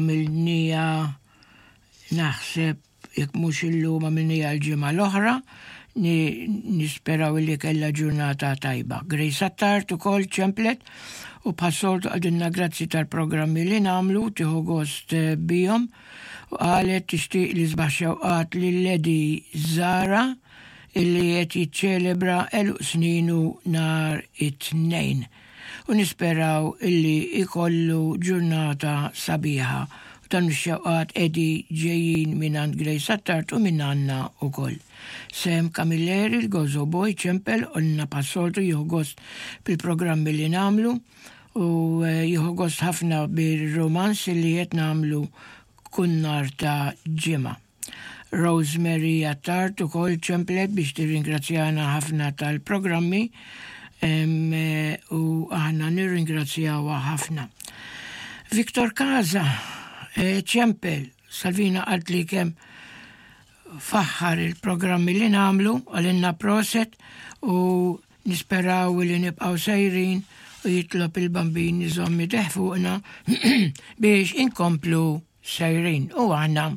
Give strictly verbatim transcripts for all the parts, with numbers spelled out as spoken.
Għamilnieha, naħseb, jekk mhux illum, għamilnieha l-ġimgħa l-oħra. Nisperaw li kella ġurnata tajba. Grace Attard ukoll ċemplet u bħas-soltu qaltilna grazzi tal-programmi li nagħmlu, tieħu gost eh, bihom, u qalet tixtieq l-isbaħ xewqat lil Lady Zara illi qed jiċċelebra għeluq sninu nhar it-Tnejn. U nisperaw illi ikollu ġurnata sabiħa. U dan ix-xewqat edi ġejjin minn għand Grace Attard u minn għandna ukoll. Sam Camilleri, l-Gozo Boy, ċempel u qalilna bħas-soltu jieħu gost bil-programmi li nagħmlu u eh, jieħu gost ħafna bil-romans li qed nagħmlu kull nhar ta' Ġimgħa. Rosemary Attard ukoll ċemplet biex tirringrazzjana ħafna tal-programmi eh, u aħna nirringrazzjawha ħafna. Victor Kaza eh, ċempel, Salvina qalt li kemm faħħar il-programmi li nagħmlu, qalilna prosit u nisperaw li nibqaw sejrin u jitlob il-Bambin iżomm idejh fuqna biex inkomplu sejrin u aħna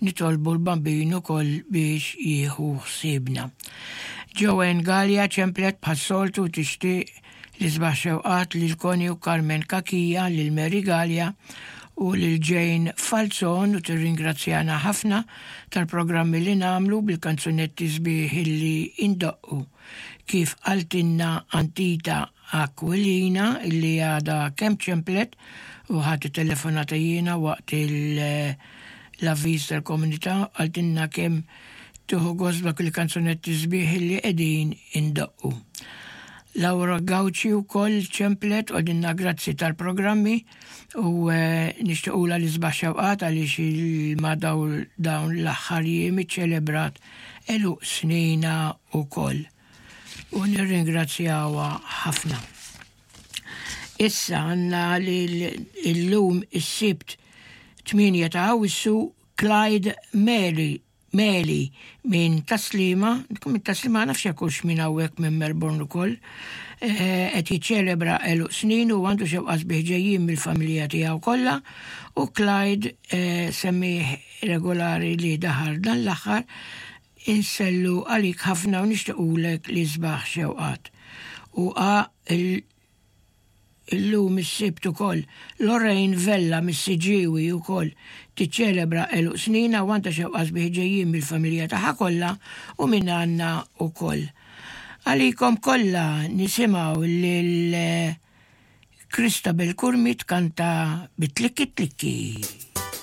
nitolbu l-Bambin ukoll biex jieħu ħsiebna. Joanne Gallia ċemplet bħas-soltu tixtieq l-isbaħ xewqat lil Connie u Carmen Kakija, lil Mary Gallia u lil Jane Falzon u tirringrazzjana ħafna tal-programmi li nagħmlu bil-kanzunetti sbieħ illi indoqqu. Kif qaltilna Antita Aquilina illi għada kemm ċemplet u ħadt telefonata jiena waqt l-avviż tal-komunità, qaltilna kemm tieħu gost dak il-kanzunetti sbieħ illi qegħdin indoqqu. Laura Gauci ukoll ċemplet u qaltilna grazzi tal-programmi u eh, nixtiequlha l-isbaħ xewqat għaliex il-ma dawn l-aħħar jiem iċċelebrat għeluq sninha ukoll. U nirringrazzjawha ħafna. Issa għandna li l-lum is-Sibt tmienja ta' Awwissu Clyde Mary Meli minn Tas-Sliema, minn Tas-Sliema, nafx jekk minn hawnhekk minn Melbourne ukoll, eh, qed jiċċelebra għeluq snin u għandu xewqat sbieħ ġejjin mill-familja tiegħu kollha u Clyde eh, semmiegħ regolari li daħal dan l-aħħar, insellmu għalik ħafna u nixtiequlek l-isbaħ xewqat. U għa illum is-Sibt ukoll Lorraine Vella mis-Siġġiewi ukoll tiċċelebra għeluq sninha u għandha xewqat sbieħ ġejjin mill-familja tagħha kollha u minn għandna ukoll. Għalikom kollha nisimgħu lil Christabel Curmi tkanta bit-tlikki tlikki.